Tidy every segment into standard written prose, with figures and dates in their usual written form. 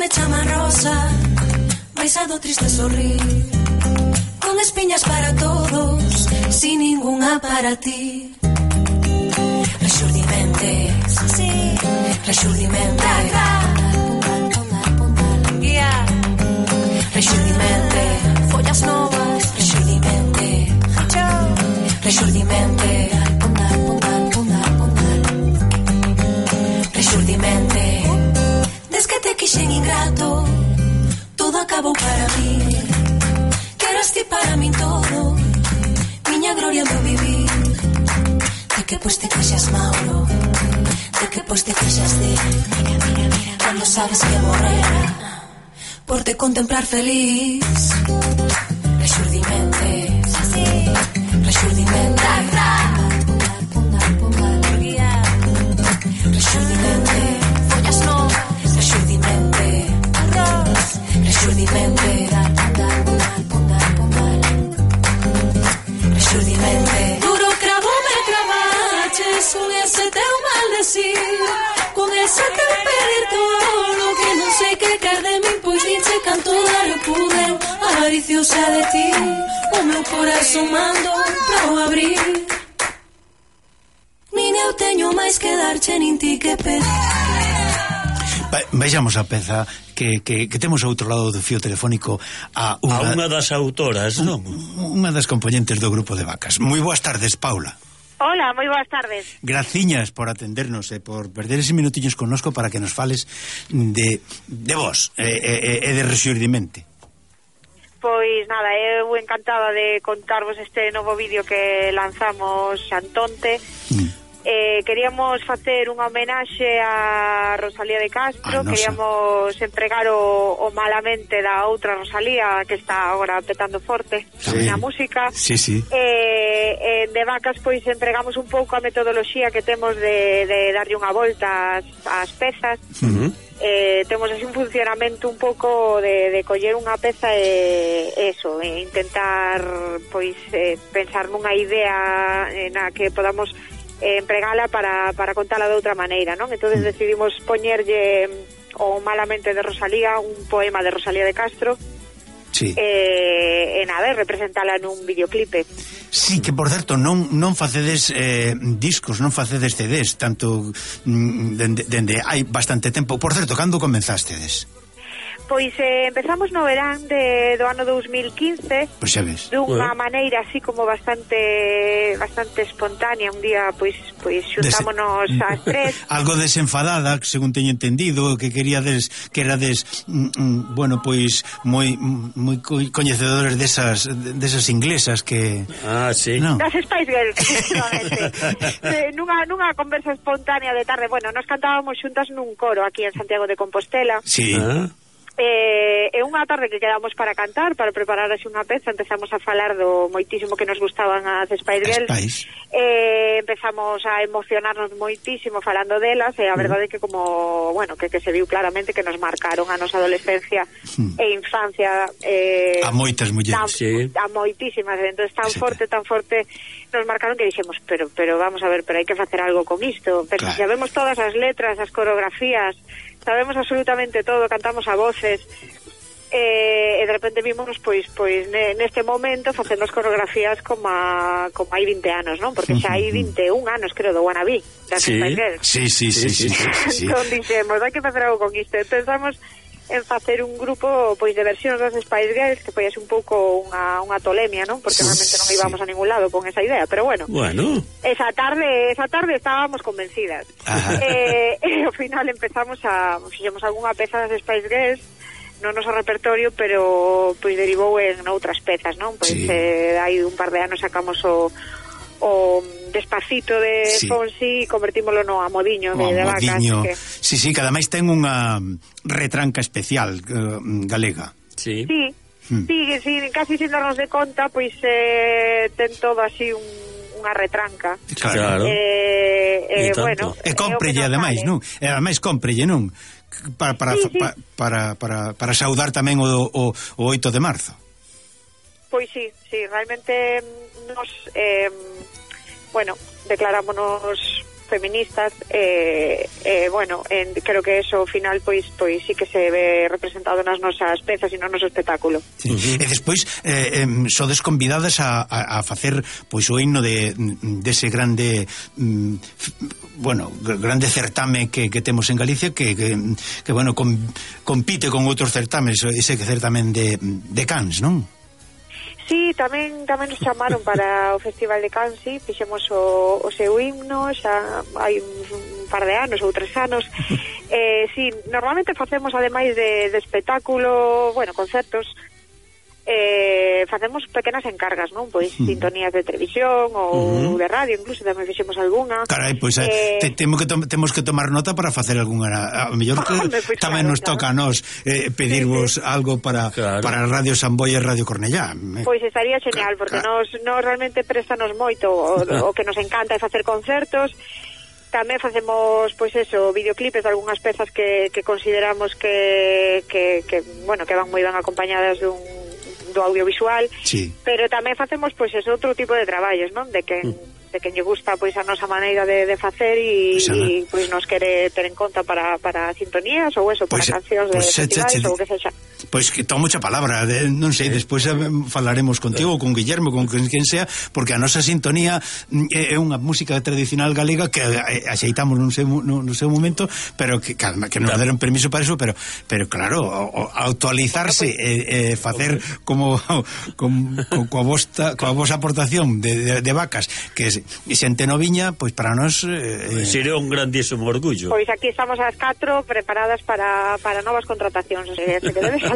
me chaman Rosa, mais a do triste sorrir, con espiñas para todos, sin ninguna para ti. Rexurdimentes, sí, rexurdimentes, yeah. Rexurdimente, follas novas, rexurdimente, rexurdimente, rexurdimente. Des que te quixen ingrato, todo acabou para mí. Que eras ti para min todo, miña gloria do vivir. De que pois te queixas, Mauro, de que pois te queixas de cando sabes que morrera por te contemplar feliz. Rexurdimente, rexurdimente, rexurdimente, follas novas, rexurdimente, rexurdimente, rexurdimente. Duro cravo me cravaches con ese teu maldecir, con ese teu pedir todo que non sei que quer de min, pois diche canto dar eu pude, avariciosa de ti, o meu corazón mando pra o abrir. Nin eu teño máis que darche, nin ti que pedir. Vexamos a peza que temos ao outro lado do fío telefónico a unha das autoras, non? Unha das componentes do grupo de Vacas. Moi boas tardes, Paula. Hola, moi boas tardes. Graciñas por atendernos e por perder ese minutiños connosco para que nos fales de vos e de Rexurdimente. Pois nada, eu encantada de contarvos este novo vídeo que lanzamos Xantonte. Queríamos facer unha homenaxe a Rosalía de Castro, queríamos empregar o malamente da outra Rosalía que está agora petando forte na música. Sí, sí. De Vacas pois empregamos un pouco a metodoloxía que temos de darlle unha volta ás pezas. Temos así un funcionamento un pouco de coller unha peza e eso, e intentar pois pensar nunha idea na que podamos empregala para contala de outra maneira, non? Entonces decidimos poñerlle o malamente de Rosalía, un poema de Rosalía de Castro. Sí. E nada, representala nun videoclipe. Sí, que por certo non facedes discos, non facedes CDs, tanto dende hai bastante tempo. Por certo, cando comenzastedes? Pois empezamos no verán do ano 2015. Pois xa ves. Dunha maneira así como bastante espontánea. Un día pois xuntámonos ás tres. Algo desenfadada, según teño entendido, que queríades que erades bueno, pois moi coñecedores desas inglesas que sí. No. Das Spice Girls, efectivamente. nunha conversa espontánea de tarde. Bueno, nos cantábamos xuntas nun coro aquí en Santiago de Compostela. Sí. E unha tarde que quedamos para cantar, para preparar así unha peza, empezamos a falar do moitísimo que nos gustaban as Spice Girls. Empezamos a emocionarnos moitísimo falando delas, e a verdade é que como, bueno, que se viu claramente que nos marcaron a nosa adolescencia e infancia a moitas mulleres, a moitísimas, entonces tan forte nos marcaron que dixemos, pero vamos a ver, pero hai que facer algo con isto, pero claro. Sabemos todas as letras, as coreografías, sabemos absolutamente todo, cantamos a voces, e de repente vimos pois neste momento facendo as coreografías como hai 20 anos, non? Porque xa hai 21 anos, creo, do Wannabe das Spice Girls. Sí. Entón dixemos, hai que facer algo con isto. Pensamos en facer un grupo pois de versións das Spice Girls, que foi así un pouco unha tolemia, non? Porque realmente non íbamos a ningún lado con esa idea, pero bueno. Esa tarde estábamos convencidas. E ao final fixemos algunha peza das Spice Girls no noso repertorio, pero pois derivou en outras pezas, non? Pois hai un par de anos sacamos o Despacito de Fonsi e convertímolo no Amodiño de Vacas. Que... Sí, que ademais ten unha retranca especial galega. Sí, casi sin darnos de conta, pois ten todo así unha retranca. Claro. Bueno, e cómprelle ademais, non? E ademais cómprelle, non? Para saudar tamén o 8 de marzo. Pois sí, realmente nos declarámonos feministas, bueno, creo que eso ao final pois sí que se ve representado nas nosas pezas e no noso espectáculo. Sí. E despois sodes convidadas a facer pois o himno dese grande grande certame que temos en Galicia que bueno, compite con outros certames, ese certamen de Cans, non? Sí, tamén nos chamaron para o Festival de Cans, sí, fixemos o seu himno, xa hai un par de anos ou 3 anos. Sí, normalmente facemos, ademais de espectáculo, bueno, concertos, facemos pequenas encargas, non? Pois sintonías de televisión ou de radio, incluso tamén fixemos algunha. Carai, pois temos que tomar nota para facer algunha, a mellor que tamén nos toca a nós pedirvos algo para Radio Samboia e Radio Cornellá. Pois estaría genial, porque nos realmente préstanos moito o que nos encanta é facer concertos. Tamén facemos, pois eso, videoclipes de algunhas pezas que consideramos que van moi ben acompañadas do audiovisual, sí. Pero tamén facemos pois ese outro tipo de traballos, non? De quen lle gusta pois a nosa maneira de facer e pois nos quere ter en conta para sintonías ou eso, para cancións de festivais ou que sexa. Pois que tomo mucha palabra, non sei, despois falaremos contigo, con Guillermo, con quen sea, porque a nosa sintonía é unha música tradicional galega que axeitamos nun seu momento, pero que nos deron permiso para eso, pero claro, actualizarse e facer como coa vosa aportación de vacas que xente noviña, pois para nós sería un grandísimo orgullo. Pois aquí estamos as 4 preparadas para novas contratacións, o sea, que debes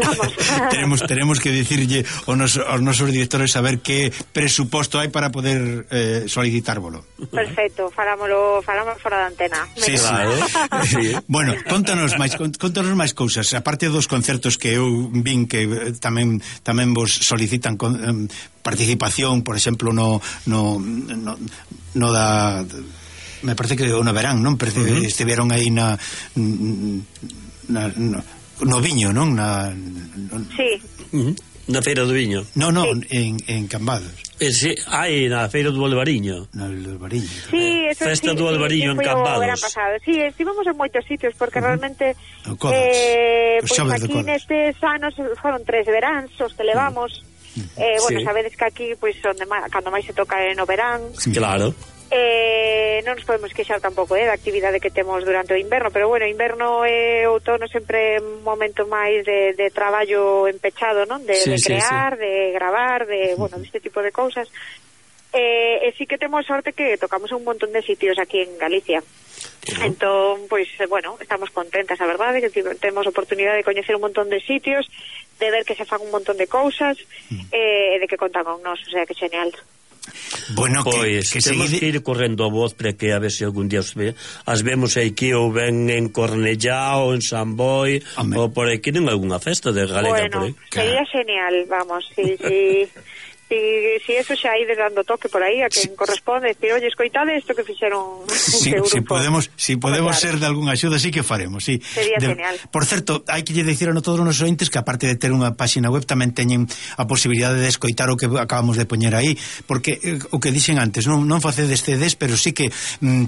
tenemos que dicirlle aos nosos directores saber que presuposto hai para poder solicitárvolo. Perfecto, falamos fora da antena. Sí, claro. Sí. Bueno, contanos máis cousas, aparte dos concertos que eu vin que tamén vos solicitan participación, por exemplo, no da me parece que no verán, non? Estiveron aí no viño, non? Sí. Na Feira do Viño. No, sí. en Cambados. Sí, hai na Feira do Albariño. No Albariño. Sí, eso Festa do Albariño en Cambados. Sí, estivemos en moitos sitios porque realmente pois aquí nestes anos foron 3 veráns os que levamos. Bueno, sabedes que aquí pois cando máis se toca é no verán. Claro. Non nos podemos queixar tampouco da actividade que temos durante o inverno, pero bueno, inverno e outono sempre un momento máis de traballo empechado, non? De crear, de gravar, bueno, deste tipo de cousas. E sí que temos sorte que tocamos un montón de sitios aquí en Galicia. Entón, pois, bueno, estamos contentas, a verdade, que temos oportunidade de coñecer un montón de sitios, de ver que se fan un montón de cousas, e de que contan con nós, o sea, que genial. Bueno, pois que temos que ir correndo a voz para que a ver se algún día as vemos aquí ou ben en Cornellá ou en San Boi ou por aquí en algunha festa de Galega. Bueno, sería genial, vamos, si eso xa ide dando toque por aí a quen corresponde, decir, oye, escoitade isto que fixeron si podemos ser de algunha axuda, sí que faremos, sí. Sería genial. Por certo, hai que lle dicir a todos os nosos ointes que aparte de ter unha páxina web tamén teñen a posibilidade de escoitar o que acabamos de poñer aí, porque o que dixen antes, non facedes CDs, pero sí que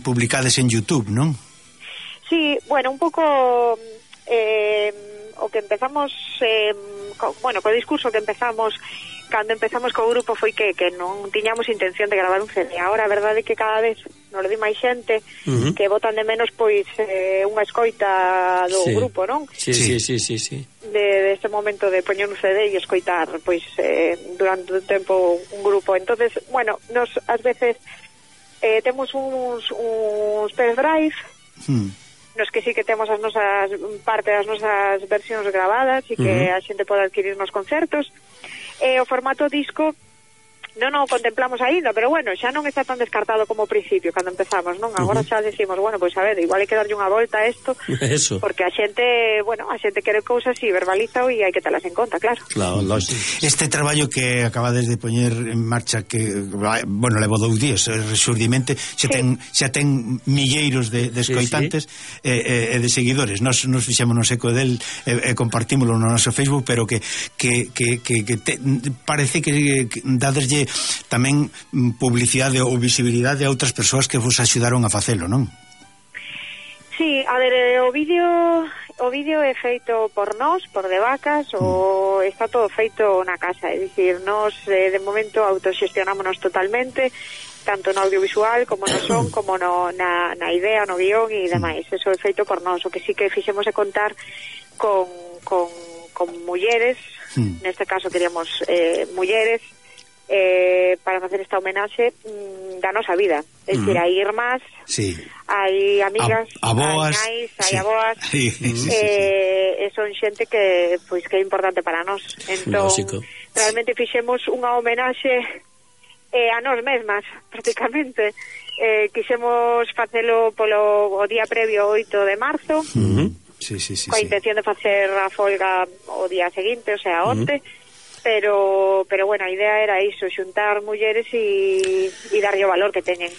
publicades en YouTube, non? Sí, bueno, un pouco o que empezamos co discurso que empezamos cando empezamos co grupo foi que non tiñamos intención de gravar un CD. Ahora a verdade é que cada vez nos lo di máis xente que botan de menos pois unha escoita do grupo, non? Sí. De este momento de poñer un CD e escoitar pois durante un tempo un grupo. Entonces, bueno, nos ás veces temos uns pendrive nos que sí que temos as nosas parte das nosas versións grabadas e que a xente pode adquirir nos concertos. O formato disco non o contemplamos aínda, pero bueno, xa non está tan descartado como ao principio cando empezamos, non? Agora xa decimos, bueno, pois a ver, igual hai que darlle unha volta a isto. Eso. Porque a xente quere cousas e verbaliza e hai que telas en conta, claro. Claro, lógico. Este traballo que acabades de poñer en marcha que, bueno, levo 2 días, resurdimento, xa ten milleiros de escoitantes e de seguidores. Nos fixémonos eco del e compartímolo no noso Facebook, pero que parece que dadeslle tamén publicidade ou visibilidade a outras persoas que vos axudaron a facelo, non? Sí, a ver, o vídeo é feito por nós, por De Vacas, o está todo feito na casa, é dicir, nós de momento autoxestionámonos totalmente, tanto no audiovisual como no son, como na idea, no guión e demais. Eso é feito por nós. O que sí que fixemos é contar con mulleres, neste caso queríamos mulleres, para facer esta homenaxe da nosa vida. É dicir, hai irmás, sí, hai amigas, aboas, hai nais, hai aboas, e son xente que é importante para nós. Entón, realmente fixemos unha homenaxe a nós mesmas, prácticamente. Quixemos facelo o día previo 8 de marzo, coa intención de facer a folga o día seguinte, o sea, onte, pero bueno, a idea era iso, xuntar mulleres e darlle o valor que teñen.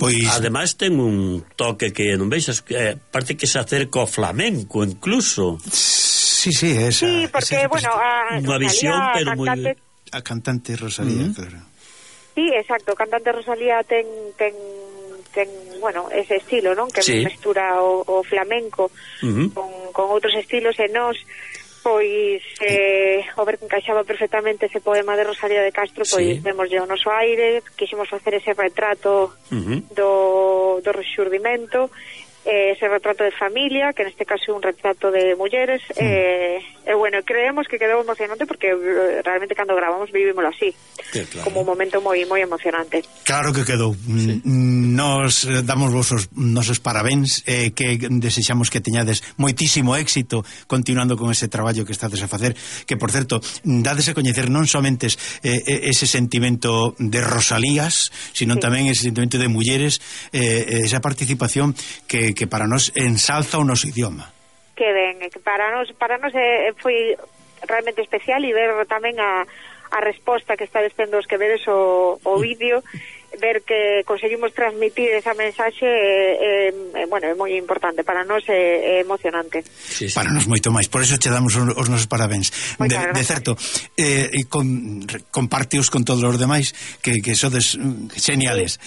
Pois ademais ten un toque que non veixas, parece que se acerca ao flamenco incluso. Sí, esa. Sí, porque, bueno, unha visión, pero moi... A cantante Rosalía, claro. Sí, exacto, cantante Rosalía ten bueno, ese estilo, non? Que mestura o flamenco con outros estilos, e nós pois o ver que encaixaba perfectamente ese poema de Rosalía de Castro, pois vemoslle o noso aire, quixemos facer ese retrato do rexurdimento, ese retrato de familia, que neste caso é un retrato de mulleres, e bueno, creemos que quedou emocionante porque realmente cando gravamos vivímoslo así, como un momento moi moi emocionante. Claro que quedou. Nos damos vos os nosos parabéns, que desexamos que teñades moitísimo éxito continuando con ese traballo que estades a facer, que por certo, dades a coñecer non somente ese sentimento de Rosalías, sino tamén ese sentimento de mulleres, esa participación que para nós ensalza o noso idioma. Que ben, para nós foi realmente especial, e ver tamén a resposta que estades tendo os que vedes o vídeo, ver que conseguimos transmitir esa mensaxe, bueno, é moi importante para nós, é emocionante. Para nós moito máis, por eso che damos os nosos parabéns. De certo, compartios con todos os demais que sodes geniales.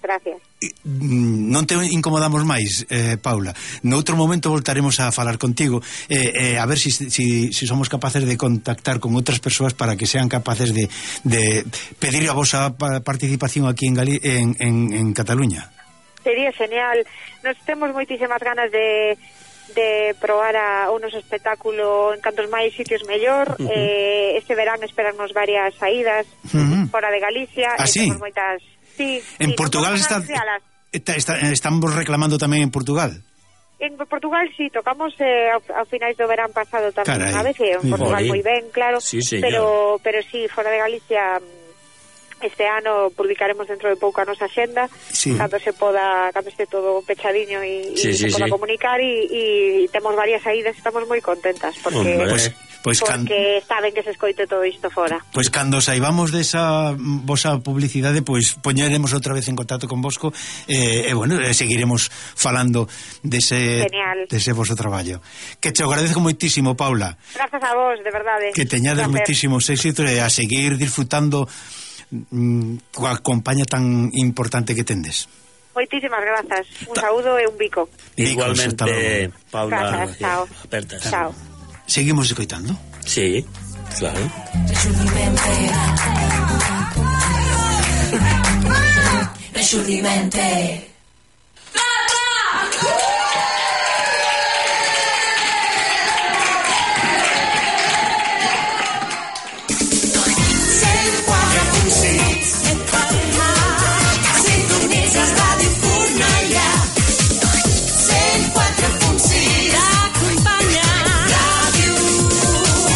Gracias. Non te incomodamos máis, Paula. Noutro momento voltaremos a falar contigo, a ver si somos capaces de contactar con outras persoas para que sean capaces de pedir a vosa participación aquí en Cataluña. Sería genial. Nos temos moitísimas ganas de probar o noso espectáculo en cantos máis sitios mellor. Este verán esperarnos varias saídas fora de Galicia. Temos moitas... Sí, en Portugal estamos reclamando tamén en Portugal. En Portugal sí, tocamos a finais do verán pasado tamén, a veces en Portugal moi ben, claro, pero sí, fora de Galicia este ano publicaremos dentro de pouco a nosa axenda, cando se poda, cando este todo pechadiño e se poda comunicar, e temos varias saídas, estamos moi contentas porque porque saben que se escoite todo isto fora. Pois cando saibamos desa vosa publicidade, pois poñeremos outra vez en contacto con vosco, e bueno, seguiremos falando dese voso traballo. Que te agradezco moitísimo, Paula. Grazas a vos, de verdade. Que teñades moitísimos éxitos e a seguir disfrutando coa compañía tan importante que tendes. Moitísimas grazas. Un saúdo e un bico. Igualmente, Paula. Grazas, chao. Chao. Seguimos escoitando? Sí, claro. Rexurdimento.